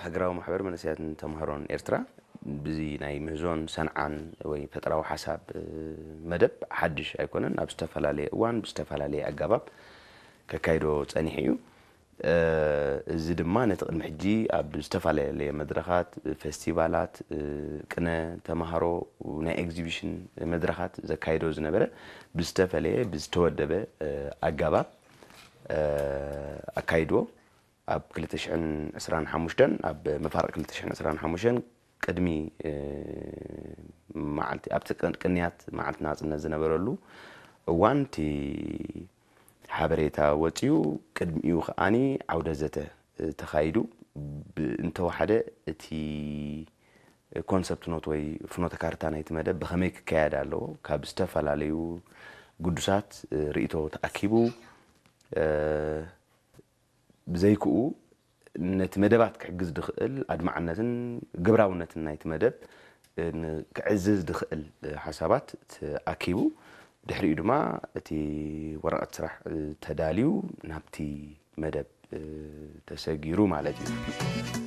ሃገራዊ ማሕበር መንእሰያትን ተምሃሮን ኤርትራ ብዚ ናይ ምህዞን ሰንዓን ወይ ፈጠራዊ ሓሳብ መደብ ሓድሽ ኣይኮነን። ኣብ ዝተፈላለየ እዋን ብዝተፈላለየ ኣገባብ ከካይዶ ጸኒሑ እዩ። እዚ ድማ ነቲ ቅድሚ ሕጂ ኣብ ዝተፈላለየ መድረኻት፣ ፌስቲቫላት፣ ቅነ፣ ተምሃሮ፣ ናይ ኤግዚቢሽን መድረኻት ዘካይዶ ዝነበረ ብዝተፈለየ ብዝተወደበ ኣገባብ ኣካይድዎ። ኣብ ክልተ ሽሕን ዕስራን ሓሙሽተን ኣብ መፋርቕ ክልተ ሽሕን ዕስራን ሓሙሽተን ቅድሚ መዓልቲ ኣብቲ ቅንያት መዓልቲ ናጽነት ዝነበረሉ እዋን እቲ ሓበሬታ ወጺኡ፣ ቅድሚኡ ከኣኒ ዓውደ ዘተ ተኻይዱ። እንተወሓደ እቲ ኮንሰፕት ኖት ወይ ፍኖተ ካርታ ናይቲ መደብ ብኸመይ ክካየድ ኣለዎ ካብ ዝተፈላለዩ ግዱሳት ርእይቶ ተኣኪቡ፣ ብዘይክኡ ነቲ መደባት ክሕግዝ ዝኽእል ኣድማዕነትን ግብራውነትን ናይቲ መደብ ክዕዝዝ ዝኽእል ሓሳባት ተኣኪቡ፣ ድሕሪኡ ድማ እቲ ወረቐት ስራሕ ተዳልዩ ናብቲ መደብ ተሰጊሩ ማለት እዩ።